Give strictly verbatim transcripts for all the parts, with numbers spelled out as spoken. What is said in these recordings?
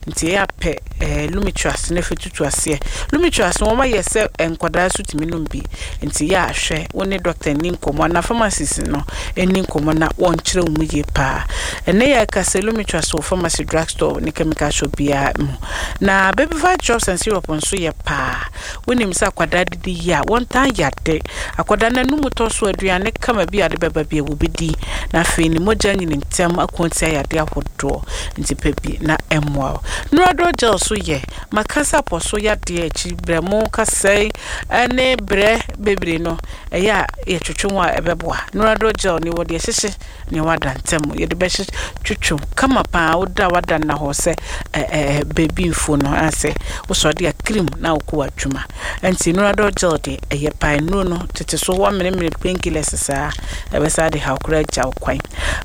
Nti ɛyɛ apɛ ɛɛ Lumitrust na afei tutu aseɛ. Lumitrust no, wɔn ayɛ sɛ nkwadaa so tumi nom bi, nti yɛ ahwɛ wo ne doctor ni nkɔmmɔ anaa pharmacist no ni nkɔmmɔ na wɔnkyerɛ wo mu yie paa. Ɛnɛ yɛ ka sɛ Lumitrust wɔ pharmacy, drugstore ne chemical shop biara mu. Na Baby Drops and Syrup nso yɛ paa. Wonim sɛ akwadaa didi yie a, wɔntaa yade. Akwadaa no anum tɔ so, aduane kama bi a de bɛba bi a wɔbɛdi, na afei ne mogya nyini ntɛm ako atia yade ahodoɔ. Nti pɛ bi na ɛmmoa wo. Nurador Gel so yɛ makasa pɔ so yadeɛ akyi brɛmo kasɛe ne brɛ bebree no, ɛyɛ a yɛtwetwe ho a, ɛbɛboa. Nurador Gel ne wɔde ɛhyehyɛ ne wada ntɛm, yɛde bɛhyɛ twetwe kama paa. Woda wada nna hɔ sɛ ɛɛ beebi mfuo no asɛ wosɔ de a cream na wokɔ w'adwuma. Nti Nurador Gel de ɛyɛ paa. Nnuro no tete so wɔmmeremere painkillers saa, ɛbɛsa de haw koraa agya wo kwan.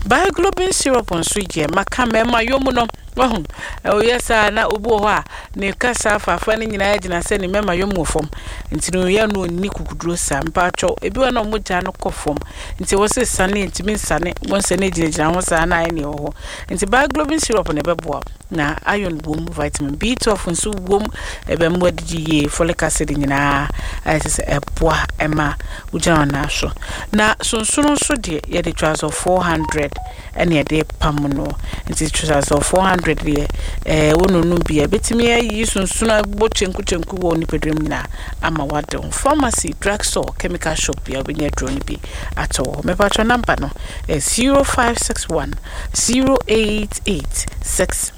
Bioglobin Syrup nso yɛ maka mmarima yom no. Wahu ɔyɛ saa na obi wɔ hɔ a ne kasa afafa no nyinaa gyina sɛ ne mmarima yom wɔ fam, nti no yɛ no ɔnni kukuduro saa. Mpaatwɔ, ebi wɔ na ɔmo no kɔ fam, nti wɔ sɛ sane ntumi nsane wɔn sɛ ne gyinagyina ho saa na ayɛ nea ɛwɔ hɔ. Nti Bioglobin Syrup na ɛbɛboa, na iron wom, vitamin B twelve nso wom, ɛbɛn adidi yie, folic acid nyinaa ayɛ sɛ sɛ ɛboa ɛma wogyina wɔn nan so. Na sonsono nso deɛ, yɛde Trazol four hundred ɛne yɛde pam no. Nti Trazol four hundred deɛ, ɛɛ wɔnonum bi a ɛbɛtumi ayi sonsono abɔ kyenku kyenku wɔ nipadua mu nyinaa ama wade ho. Pharmacy, drugstore, chemical shop bi a wobɛnya aduro no bi atɔ wɔ hɔ. Mepatwɔ, number no ɛ zero five six one zero eight eight six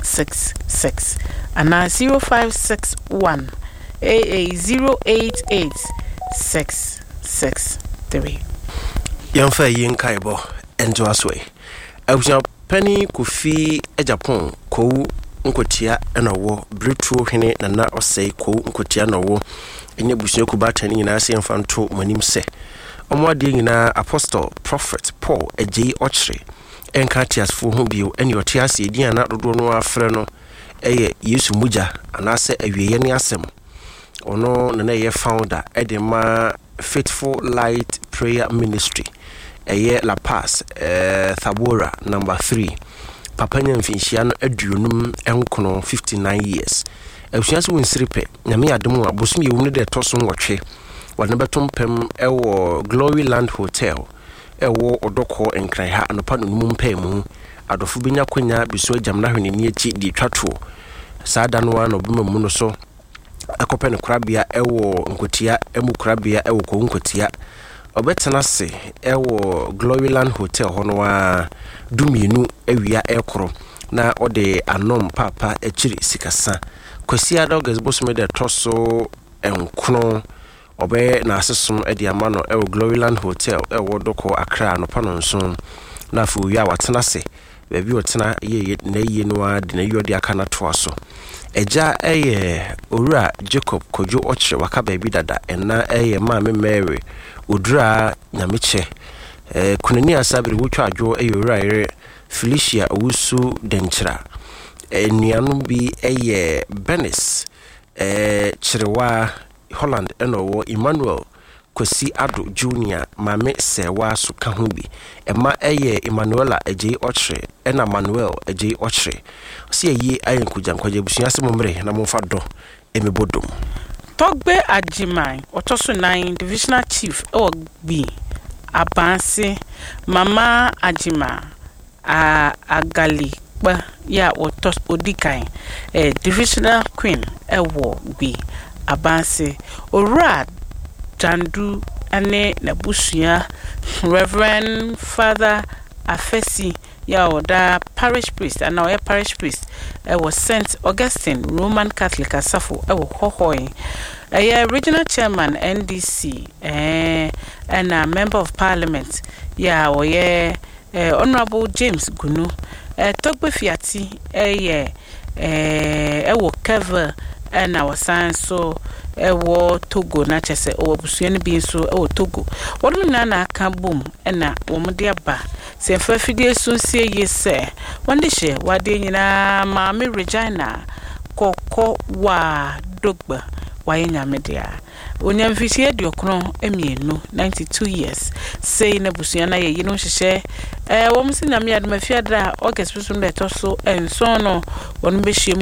six six anaa zero five six one A A zero eight eight six six three. Yɛmfa yi nkaebɔ ntoa so yi. Abusuapani Kofi Japan Kowu Nkotia ɛna ɔwɔ Beretuo hene Nana Ɔsɛe Kowu Nkotia na ɔwɔ ɛne abusua kubaatan no nyinaa sɛ yɛmfa nto mo anim sɛ ɔmo adeɛ nyinaa, Apostle Prophet Paul Agyei Ɔkyere ɛnka ateasefoɔ ho bio, ɛne ɔte ase edin a na dodoɔ no afrɛ no ɛyɛ Yesu Mogya anaasɛ awieeɛ ne asɛm. Ɔno na na ɛyɛ founder ɛde ma Faithful Light Prayer Ministry, ɛyɛ La Paz, eh, Thabora number three. Papa nya mfinhyia no aduonum nkron, fifty-nine years. Abusua sɛ wɔnsiri pɛ Nyame yɛ adom a, bosom yɛwum no dɛ ɛtɔ so nwɔtwe, wɔde no bɛto mpam ɛwɔ Glory Land Hotel ɛwɔ Ɔdɔkɔ Nkran ha anɔpa nonum mpaa mu. Adɔfo bɛnya kwanya biso agyam no ahwɛ n'ani akyi de twa toɔ. Saa da no ara na ɔbɛma mu no so ɛkɔpɛ no korabea ɛwɔ Nkotia mu, korabea ɛwɔ Kɔwu Nkotia. Ɔbɛtena ase ɛwɔ Gloryland Hotel hɔ no a dumienu awia ɛkoro na ɔde anom paapa akyiri sikasa. Kwasiada, August bosome de ɛtɔ so nkono, ɔbɛyɛ n'asesom de ama no ɛwɔ Gloryland Hotel ɛwɔ Dɔkɔ, Accra, anɔpa no nson, na afei owie a, watena ase baabi a ɔtena yie n'ayie no ara de n'ayie ɔde aka no atoa so. Agya ɛyɛ Owura Jacob Kwadwo Ɔkyerɛ, waka baabi dada. Ɛna ɛyɛ Maame Mary Odura Nyamekyɛ. ɛɛ kunani asabere wotwa adwo ɛyɛ Owura yere Felicia Owusu Dɛnkyira. Nnuanom bi ɛyɛ Benis ɛɛ Kyerewa, Holland, ɛna ɔwɔ Emmanuel Kwasi Ado Junior, Maame Sɛwa so ka ho bi. Ɛma ɛyɛ Emmanuela Agyei Ɔkyerɛ ɛna Manuel Agyei Ɔkyerɛ. Ɔsi ayie ayɛ nkogya abusua sɛ mo mmerɛ na momfa dɔ ɛmɛbɔ dom. Tɔgbe Agyeman ɔtɔ so nan, divisional chief ɛwɔ Gbi Abanse, Mama Agyema a Agalikpa yɛ a wɔtɔ odi kan, eh, divisional queen ɛwɔ Gbi Abanse, Owura Dandu ne n'abusua, Reverend Father Afesi yɛ a ɔda parish priest anaa ɔyɛ parish priest ɛwɔ Saint Augustine Roman Catholic asafo ɛwɔ Hɔhɔe, ɛyɛ regional chairman N D C, ɛɛ ɛna member of parliament yɛ a ɔyɛ ɛɛ Honourable James Gunu, ɛɛ Tɔgbe Fiati ɛyɛ ɛɛ ɛwɔ Kevil, ɛna wɔsan so ɛwɔ Togo, na kyerɛ sɛ ɔwɔ abusua no bi nso ɛwɔ Togo. Wɔn nyinaa na aka bom ɛna wɔn de aba sɛ mfa afidie so nsie yie sɛ wɔn de hyɛ wadeɛ nyinaa. Maame Regina Kɔkɔ Waa Dogba wayɛ Nyame dea, onya mfirihyia aduokron mmienu, ninety two years. Sei na abusua no ayɛ yi no nhyehyɛ. ɛɛ wɔn si Nyame adom, afiada a August bosom da ɛtɔ so nson no, wɔn bɛhyia mu.